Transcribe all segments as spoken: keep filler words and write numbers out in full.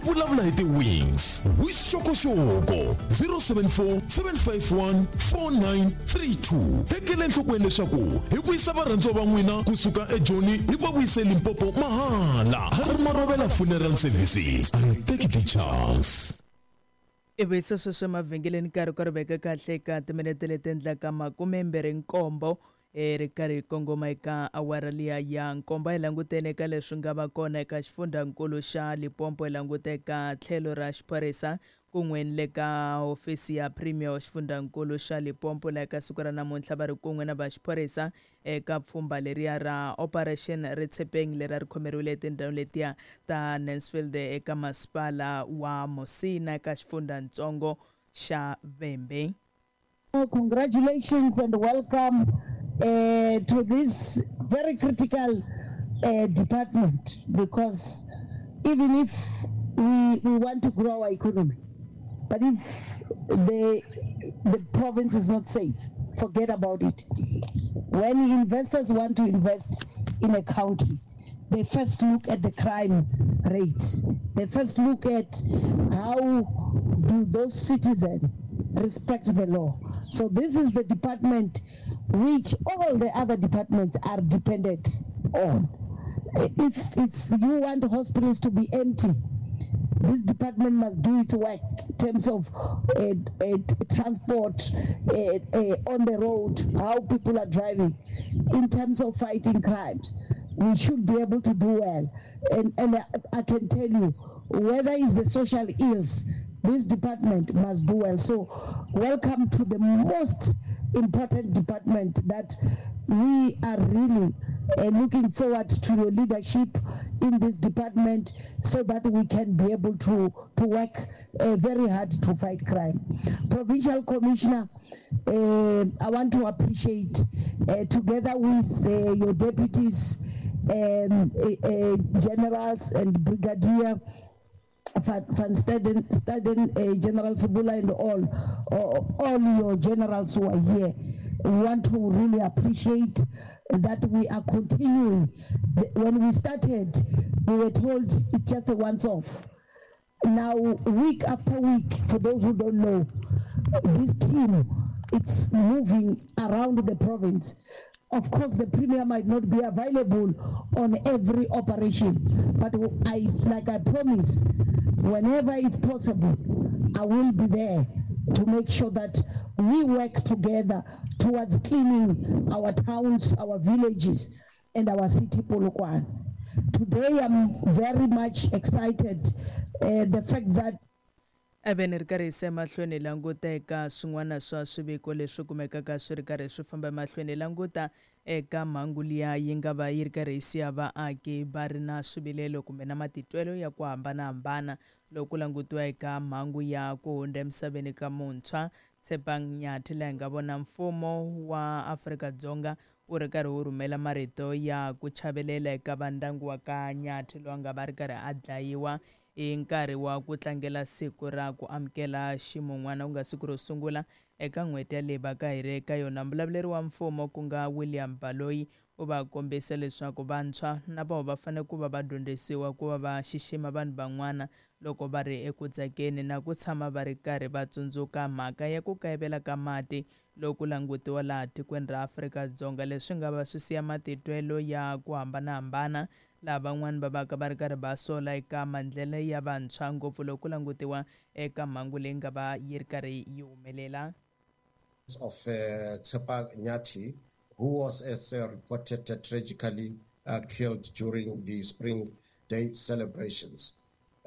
Vulavula hi ti-wings. Vuxokoxoko zero seven four, seven five one, four nine three two. Tekela enhlokweni leswaku hi vuyisa varhandziwa va n'wina kusuka eJoni hi va vuyise Limpopo mahala. Harry Marovela Funeral Services and take the chance. I vuyisa sweswo emavhengeleni, nkarhi ka ri veka kahle eka timinete leti endlaka makumembirhi nkombo e ri karhi hi kongoma eka awara liya ya nkombo. Hi langutene eka leswi nga va kona eka xifundzankulu xa Limpopo, hi languta eka tlhelo ra xiphorisa kun'we ni le ka hofisi ya premier wa xifundzankulu xa Limpopo, laha eka siku ra namuntlha va ri kun'we na va xiphorisa eka pfhumba leriya ra Operation Retshepeng, leri a ri khomeriwile etindhawini letiya ta Nancefield eka masipala wa Musina eka xifundzatsongo xa Vhembe. Congratulations and welcome uh, to this very critical uh, department, because even if we, we want to grow our economy, but if the, the province is not safe, forget about it. When investors want to invest in a country, they first look at the crime rates. They first look at how do those citizens respect the law. So this is the department which all the other departments are dependent on. If, if you want hospitals to be empty, this department must do its work in terms of uh, uh, transport uh, uh, on the road, how people are driving, in terms of fighting crimes. We should be able to do well. And, and I, I can tell you, whether it's the social ills, this department must do well. So, welcome to the most important department that we are really uh, looking forward to your leadership in this department so that we can be able to, to work uh, very hard to fight crime. Provincial Commissioner, uh, I want to appreciate, uh, together with uh, your deputies, um, uh, uh, generals and brigadier Van, Van Staden, Staden uh, General Sibula and all, all, all your generals who are here. We want to really appreciate that we are continuing. When we started, we were told it's just a once-off. Now, week after week, for those who don't know, this team, it's moving around the province. Of course, the premier might not be available on every operation, but I, like I promise, whenever it's possible, I will be there to make sure that we work together towards cleaning our towns, our villages, and our city, Polokwane. Today, I'm very much excited, uh, the fact that Eveni ri karhi hi se mahlweni hi languta eka swin'wana swa swiviko leswi kumekaka swi ri karhi swi famba emahlweni, hi languta eka mhangu liya yi nga va yi ri karhi yi siya vaaki va ri na swivilelo kumbe na matitwelo ya ku hambanahambana loko ku langutiwa eka mhangu ya ku hundza emisaveni ka muntshwa Tshepang Nyathi, laha hi nga vona mfumo wa Afrika-Dzonga wu ri karhi wu rhumela marito ya ku chavelela eka vandyangu wa ka Nyathi, loyi a nga va ri karhi a dlayiwa hi nkarhi wa ku tlangela siku ra ku amukela ximun'wana, ku nga siku ro sungula eka n'hweti ya leyi va ka hi ri eka yona. Mbulavuleri wa mfumo, ku nga William Baloyi, u va kombisa leswaku vantshwa na vona va fanele ku va va dyondzisiwa ku va va xixima vanhu van'wana loko va ri eku tsakeni, na ku tshama va ri karhi va tsundzuka mhaka ya ku kayivela ka mati loko langutiwa laha tikweni ra Afrika-Dzonga, leswi nga va swi siya matitwelo ya ku hambanahambana, laha van'wani va vaka va ri karhi va sola eka maendlelo ya vantshwa, ngopfu loko ku langutiwa eka mhangu leyi nga va yi ri karhi yi humelela. Of uh, Tshepang Nyathi, who was, as uh, reported, uh, tragically uh, killed during the Spring Day celebrations.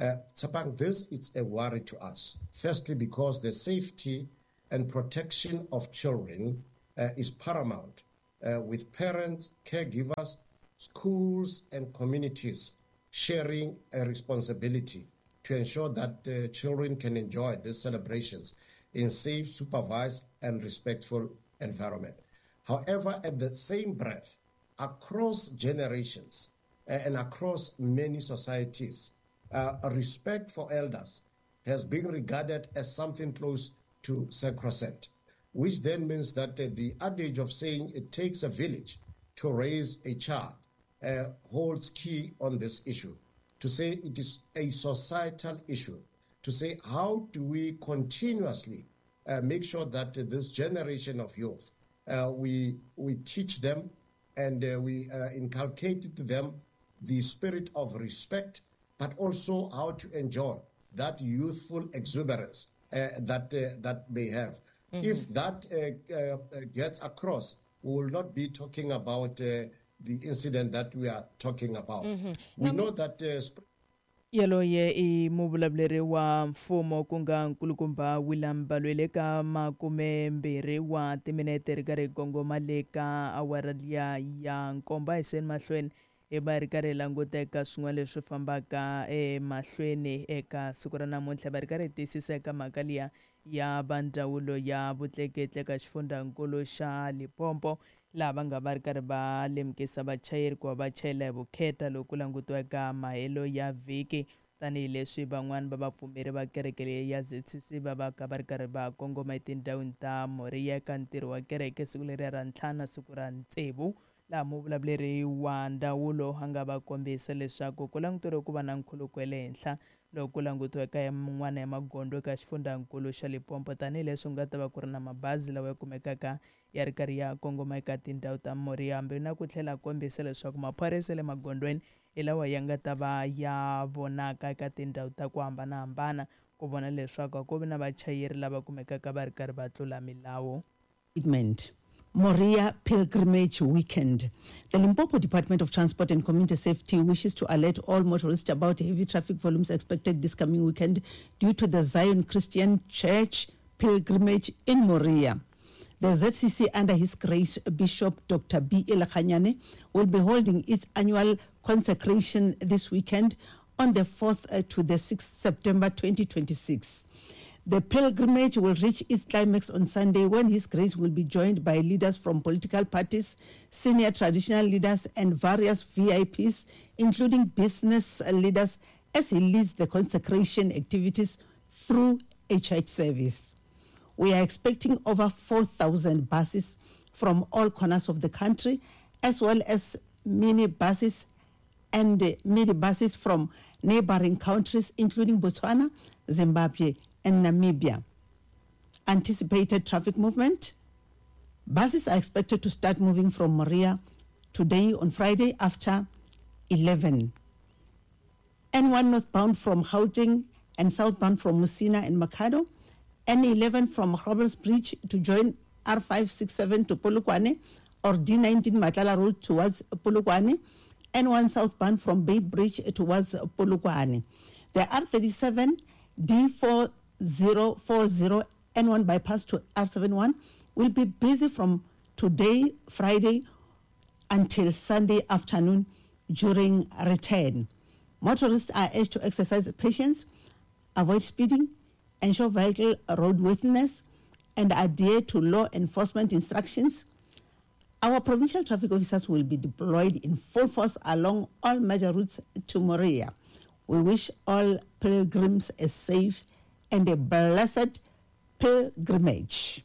Uh, Tshepang, this is a worry to us. Firstly, because the safety and protection of children uh, is paramount, uh, with parents, caregivers, schools, and communities sharing a responsibility to ensure that uh, children can enjoy these celebrations in safe, supervised, and respectful environment. However, at the same breath, across generations uh, and across many societies, uh, respect for elders has been regarded as something close to sacrosanct, which then means that uh, the adage of saying it takes a village to raise a child uh, holds key on this issue. to say it is a societal issue, to say how do we continuously uh, make sure that uh, this generation of youth, uh, we, we teach them and uh, we uh, inculcate to them the spirit of respect, but also how to enjoy that youthful exuberance uh, that, uh, that they have. Mm-hmm. If that uh, uh, gets across, we will not be talking about uh, the incident that we are talking about. Mm-hmm. We now, know that... Uh, sp- Yaloye i muvulavuleri wa mfumo ku nga nkulukumba William Balwele ka makume mbirhi wa timinete ri karhi kongoma le ka awara liya ya nkombo. A hi seni mahlweni hi va ri karhi hi languteka swin'wana leswi fambaka emahlweni eka siku ra namuntlha, va ri karhi hi tiyisisa eka mhaka liya ya va ndzawulo ya vutleketli eka xifundzankulu xa Limpopo, laha va nga va ri karhi va lemukisa vachayeri ku va va chayela hi vukheta loko ku langutiwa eka mahelo ya vhiki, tanihileswi van'wani va vapfumeri va kereke leyi ya Z C C va va ka va ri karhi va kongoma etindhawini ta Moriya eka ntirho wa kereke siku leriya ra ntlhanu siku ra tsevu, laha muvulavuleri wa ndzawulo a nga va kombisa leswaku ku languteriwe ku va na nkhuluko wa le henhla loko ku langutiwa eka yin'wana ya magondzo eka xifundzankulu xa Limpopo, tanihileswi ku nga ta va ku ri na mabazi lawa ya kumekaka ya ri karhi ya kongoma eka tindhawu ta Moriya, hambi na ku tlhela kombisa leswaku maphorisa le magondzweni hi lawa ya nga ta va ya vonaka eka tindhawu ta ku hambanahambana ku vona leswaku a ku vi na vachayeri lava kumekaka va ri karhi va tlula milawu. Moria Pilgrimage Weekend. The Limpopo Department of Transport and Community Safety wishes to alert all motorists about heavy traffic volumes expected this coming weekend due to the Zion Christian Church Pilgrimage in Moria. The Z C C under His Grace Bishop Doctor B. Elekganyane will be holding its annual consecration this weekend on the fourth to the sixth September twenty twenty-six. The pilgrimage will reach its climax on Sunday when His Grace will be joined by leaders from political parties, senior traditional leaders and various V I Ps, including business leaders, as he leads the consecration activities through a church service. We are expecting over four thousand buses from all corners of the country, as well as mini buses and mini buses from neighboring countries, including Botswana, Zimbabwe, and Namibia. Anticipated traffic movement. Buses are expected to start moving from Moria today on Friday after eleven. N one northbound from Gauteng and southbound from Musina and Makhado. N eleven from Roberts Bridge to join R five sixty-seven to Polokwane or D nineteen Matlala Road towards Polokwane. N one southbound from Beit Bridge towards Polokwane. The R thirty-seven D four zero four zero N one bypass to R seventy-one will be busy from today, Friday, until Sunday afternoon during return. Motorists are urged to exercise patience, avoid speeding, ensure vehicle roadworthiness, and adhere to law enforcement instructions. Our provincial traffic officers will be deployed in full force along all major routes to Moria. We wish all pilgrims a safe and a blessed pilgrimage.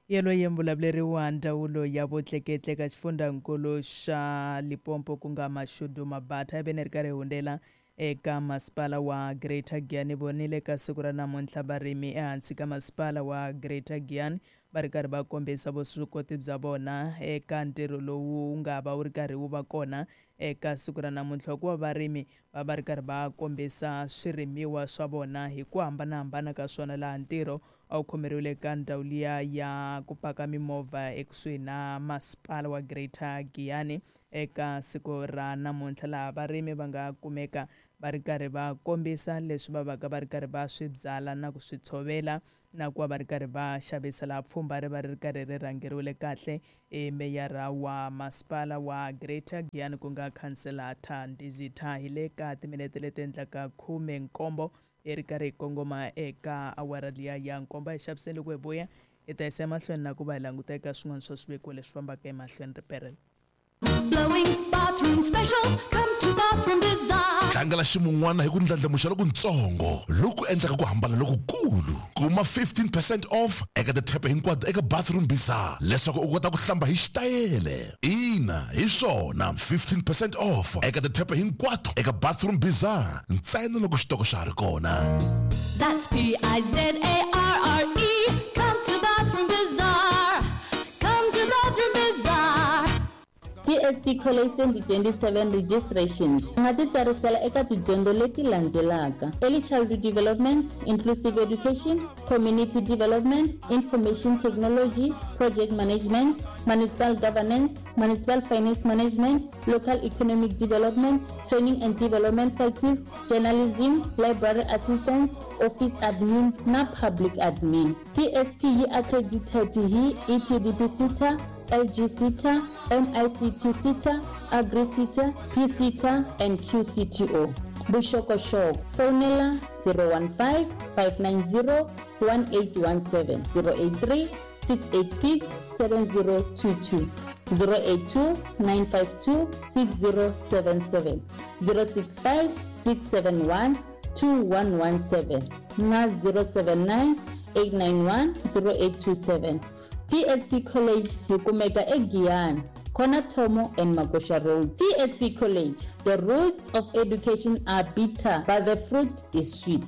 Yelweyo muvulavuleri wa ndzawulo ya vutleketli eka xifundzankulu xa Limpopo ku nga Mashudu Mabatha ivi ni ri karhi hi hundzela eka masipala wa Greater Giyani. Vonile ka siku ra namuntlha varimi ehansi ka masipala wa Greater Giyani va ri karhi va kombisa vuswikoti bya vona eka ntirho lowu nga va wu ri karhi wu va kona eka siku ra namuntlha, hikuva varimi va va ri karhi va kombisa swirimiwa swa vona hi ku hambanahambana ka swona, laha ntirho a wu khomeriwile eka ndhawu liya ya ku paka mimovha ekusuhi na masipala wa Greater Giyani eka siku ra namuntlha, laha varimi va nga kumeka va ri karhi va kombisa leswi va vaka va ri karhi va swi byala na ku swi tshovela na ku va va ri karhi va xavisa. Laha pfhumba ri va ri karhi ri rhangeriwile kahle i meyara wa masipala wa Greater Giyani ku nga khansela Thandizitha. Hi le ka timinete leti endlaka khume nkombo hi ri karhi hi kongoma eka awara liya ya nkombo. Hi xaviseni loko hi vuya hi ta yisa emahlweni na ku va hi languta eka swin'wana swa swiviko leswi fambaka emahlweni. Riperelo. Flowing bathroom specials. Come to Bathroom Bazaar. Tlangela ximun'wana hi ku ndlandlamuxa lokutsongo loku endlaka ku hambana lokukulu. Kuma fifteen percent off eka tithepe hinkwato eka Bathroom Bazaar leswaku u kota ku hlamba hi xitayele. Ina, hi swona, fifteen percent off eka tithepe hinkwato eka Bathroom Bazaar ntsena loko xitoko xa ha ri kona. That's P I Z A R R E. Come to Bathroom Bazaar. Come to Bathroom Bazaar. T S P College twenty twenty-seven registrations. U nga ti tsarisela eka tidyondzo leti landzelaka: Early Childhood Development, Inclusive Education, Community Development, Information Technology, Project Management, Municipal Governance, Municipal Finance Management, Local Economic Development, Training and Development Practice, Journalism, Library Assistance, Office Admin na Public Admin. T S P yi accredited hi E T D P SETA, L G SETA, M I C T SETA, Agri SETA, P SETA and Q C T O. Vuxokoxoko, fonela zero one five, five nine zero, one eight one seven, zero eight three, six eight six, seven zero two two, zero eight two, nine five two, six zero seven seven, zero six five, six seven one, two one one seven na zero seven nine, eight nine one, zero eight two seven. T S P College yi kumeka eGiyani, Corner Thomo and Magosha Road. T S P College, the roots of education are bitter, but the fruit is sweet.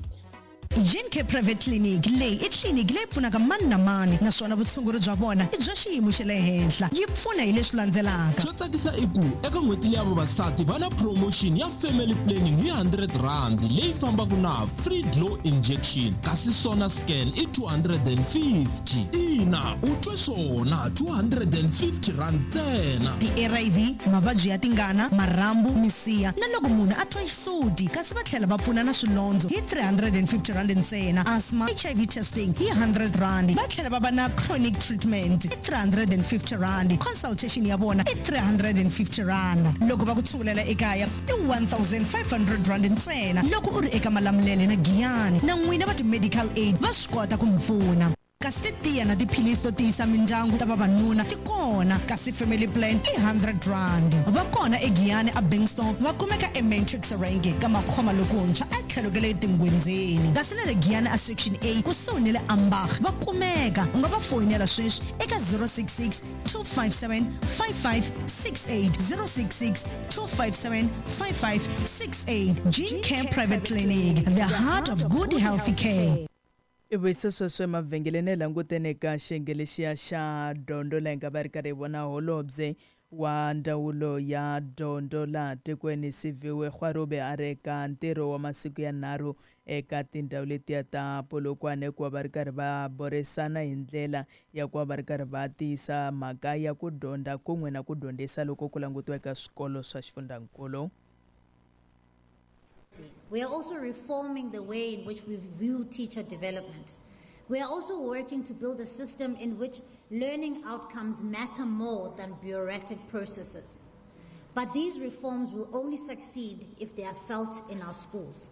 Gene Care Private Clinic leyi i tliliniki leyi pfunaka mani na mani naswona vutshunguri bya vona i bya xiyimo xa le henhla. Yi pfuna hi leswi landzelaka. Xo tsakisa i ku eka n'hweti ya vavasati va na promotion ya family planning hi hundred rand leyi fambaka na free glow injection, kasi sona scan i two hundred and fifty. Ina, u twe swona, two hundred and fifty rand ntsena. Ti-R I V, mavabyi ya tingana, marhambu, misiha na loko munhu a twa xisuti, kasi va tlhela va pfuna na swilondzo hi three hundred and fifty rand ntsena. Asthma, H I V testing hi hundred rand. Va tlhela va va na chronic treatment hi three hundred and fifty rand. Consultation ya vona i three hundred and fifty rand. Loko va ku tshungulela ekaya i one thousand five hundred rand ntsena. Loko u ri eka Malamulele na Giyani na n'wina va ti-medical aid va swi kota ku mi pfuna. Kasi titiya na tiphilisi to tiyisa mindyangu ta vavanuna ti kona, kasi family plan i hundred rand. Va kona eGiyani a Bankston, va kumeka eMatrix Range ka Makhoma lokuntshwa a tlhelo ka le Tingwenzeni. Kasi na le Giyani a Section A kusuhi ni le Ambach va kumeka. U nga va foyinela sweswi eka zero six six, two five seven, five five six eight, zero six six, two five seven, five five six eight. Gene Care Private Clinic, the heart of good healthy care. I vuyise sweswo emavhengeleni langutene ka xiyenge lexiya xa dyondzo laha hi nga va ri karhi hi vona holobye wa ndzawulo ya dyondzo laha tikweni Siviwe Gwarube a ri eka ntirho wa masiku ya nharhu eka tindhawu letiya ta Polokwane ku va va ri karhi va burisana hi ndlela ya ku va va ri karhi va tiyisa mhaka ya ku dyondza kun'we na ku dyondzisa loko ku langutiwa eka swikolo swa xifundzankulu. We are also reforming the way in which we view teacher development. We are also working to build a system in which learning outcomes matter more than bureaucratic processes. But these reforms will only succeed if they are felt in our schools.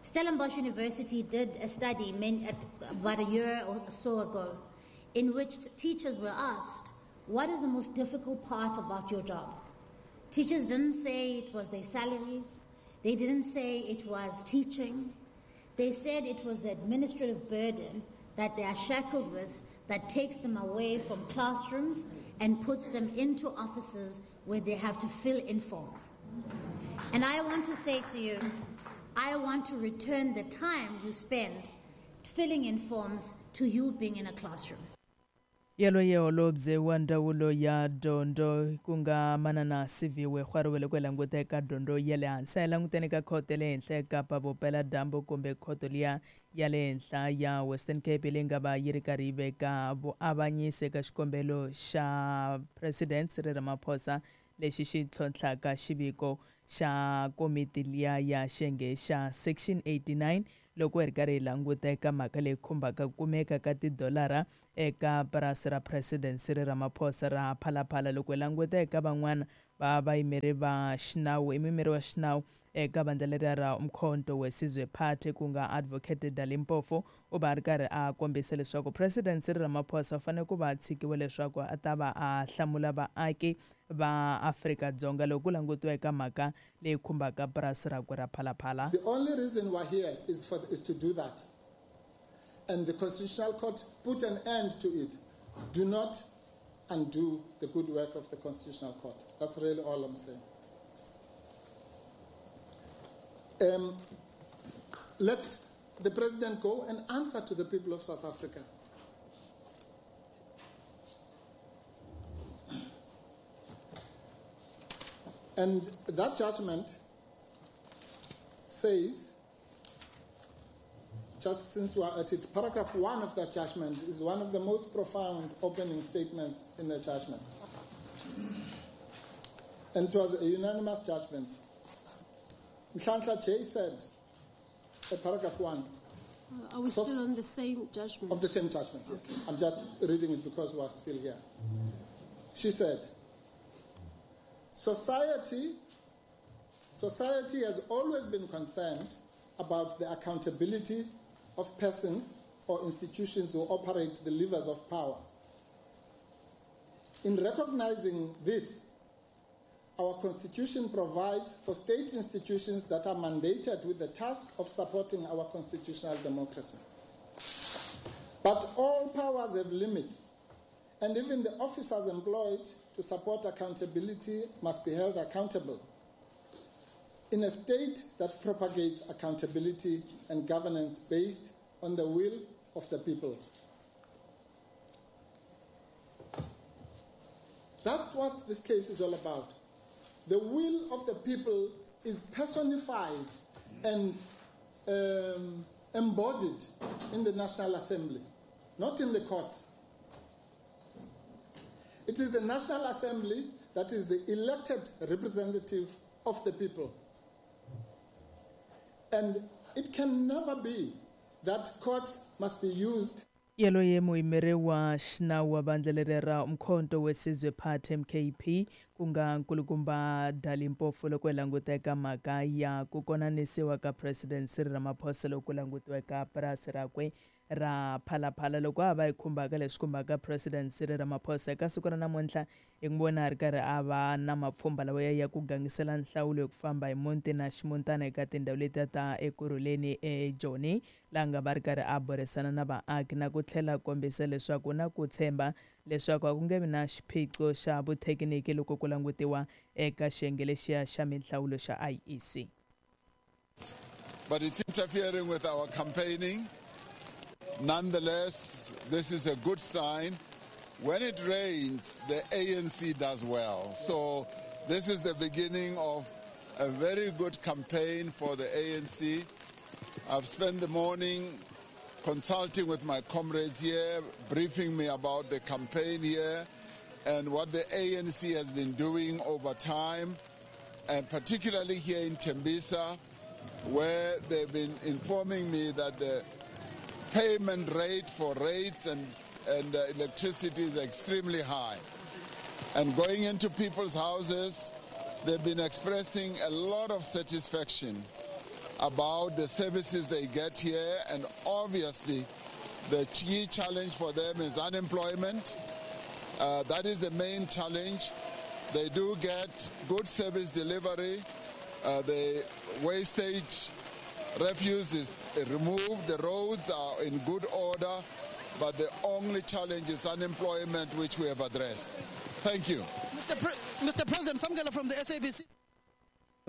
Stellenbosch University did a study many, about a year or so ago in which teachers were asked, what is the most difficult part about your job? Teachers didn't say it was their salaries. They didn't say it was teaching. They said it was the administrative burden that they are shackled with that takes them away from classrooms and puts them into offices where they have to fill in forms. And I want to say to you, I want to return the time you spend filling in forms to you being in a classroom. Yaloye holobye wa ndzawulo ya dyondzo ku nga manana Siviwe Gwarube loko hi languta eka dyondzo ya le hansi a hi languteni ka khoto ya le henhla eKapa Vupeladyambu kumbe khoto liya ya le henhla ya Western Cape leyi nga va yi ri karhi yi veka vuavanyisi eka xikombelo xa President Cyril Ramaphosa lexi xi tlhontlhaka xiviko xa komiti liya ya xiyenge xa Section eighty-nine loko hi ri karhi hi languta eka mhaka leyi khumbaka ku kumeka ka tidolara eka purasi ra President Cyril Ramaphosa ra Phalaphala. Loko hi languta eka van'wana va vayimeri va xinawu i muyimeri wa xinawu eka vandla leriya ra Umkhonto weSizwe Party ku nga Advocate Dali Mpofu u va a ri karhi a kombisa leswaku President Cyril Ramaphosa u fanele ku va a tshikiwe leswaku a ta va a hlamula vaaki va Afrika-Dzonga loko ku langutiwa eka mhaka leyi khumbaka purasi rakwe ra Phalaphala. The only reason we're here is for is to do that. And the Constitutional Court put an end to it. Do not undo the good work of the Constitutional Court. That's really all I'm saying. Um, let the president go and answer to the people of South Africa. And that judgment says, just since we are at it, paragraph one of that judgment is one of the most profound opening statements in the judgment. And it was a unanimous judgment. Nhlanhla J said, at paragraph one. Uh, are we still on the same judgment? Of the same judgment, yes. Okay. I'm just reading it because we are still here. She said, Society, society has always been concerned about the accountability of persons or institutions who operate the levers of power. In recognizing this, our Constitution provides for state institutions that are mandated with the task of supporting our constitutional democracy. But all powers have limits, and even the officers employed to support accountability must be held accountable. In a state that propagates accountability and governance based on the will of the people. That's what this case is all about. The will of the people is personified and um, embodied in the National Assembly, not in the courts. It is the National Assembly that is the elected representative of the people. And it can never be that courts must be used. Yaloye muyimeri wa xinawu wa vandla leri ra Umkhonto weSizwe Party M K P ku nga nkulukumba Dali Mpofu loko hi languta eka mhaka ya ku konanisiwa ka President Cyril Ramaphosa loko ku langutiwa eka purasi rakwe ra Phalaphala loko a va hi khumbaka leswi khumbaka President Cyril Ramaphosa eka siku ra namuntlha hi n'wi vona a ri karhi a va na mapfhumba lawa ya ya ku gangisela nhlawulo hi ku famba hi muti na ximutana eka tindhawu letiya ta Ekurhuleni eJoni laha nga va ri karhi a burisana na vaaki na ku tlhela kombisa leswaku na ku tshemba leswaku a ku nge vi na xiphiqo xa vuthekiniki loko ku langutiwa eka xiyenge lexiya xa minhlawulo xa I E C. But it's interfering with our campaigning. Nonetheless, this is a good sign. When it rains, the A N C does well. So this is the beginning of a very good campaign for the A N C. I've spent the morning consulting with my comrades here, briefing me about the campaign here and what the A N C has been doing over time, and particularly here in Tembisa, where they've been informing me that the payment rate for rates and, and uh, electricity is extremely high. And going into people's houses, they've been expressing a lot of satisfaction about the services they get here. And obviously, the key challenge for them is unemployment. Uh, that is the main challenge. They do get good service delivery. Uh, the wastage refuse is removed, the roads are in good order, but the only challenge is unemployment, which we have addressed. Thank you. Mister Pre- Mister President, Samgela from the S A B C.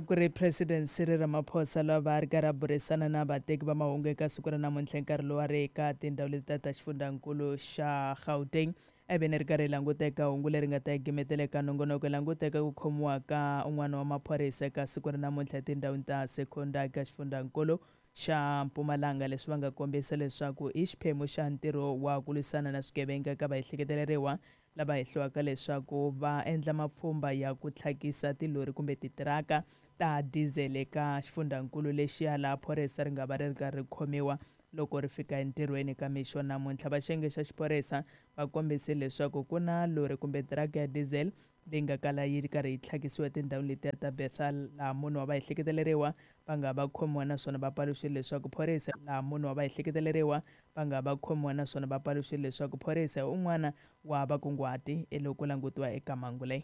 Ku ri President Cyril Ramaphosa lava ri karhi a burisana na vateki va mahungu eka siku ra namuntlha nkarhi lowu a ri eka tindhawu leti ta xifundzankulu xa Gauteng. Ivi ri karhi hi languta eka hungu leri nga ta yi gimetela eka nongonoko hi languteka ku khomiwa ka un'wana wa maphorisa eka siku ra namuntlha etindhawini ta Secunda eka xifundzankulu xa Mpumalanga, leswi va nga kombisa leswaku i xiphemu xa ntirho wa ku lwisana na swigevenga eka vaehleketeleriwa lava hehliwaka leswaku va endla mapfhumba ya ku tlhakisa tilori kumbe titiraka ta diesel eka xifundzankulu lexiya laha phorisa ri nga va ri ri karhi ri khomiwa loko ri fika entirhweni ka mixo namuntlha. Va xiyenge xa xiphorisa va kombise leswaku ku na lori kumbe tiraka ya diesel leyi nga kala yi ri karhi yi tlhakisiwa etindhawini letiya ta Bethal, laha munhu wa va ehleketeleriwa va nga va khomiwa, naswona va paluxile leswaku phorisa laha munhu wa va ehleketeleriwa va nga va khomiwa, naswona va paluxile leswaku phorisa un'wana wa vakunguhati eloko langutiwa eka mhangu leyi.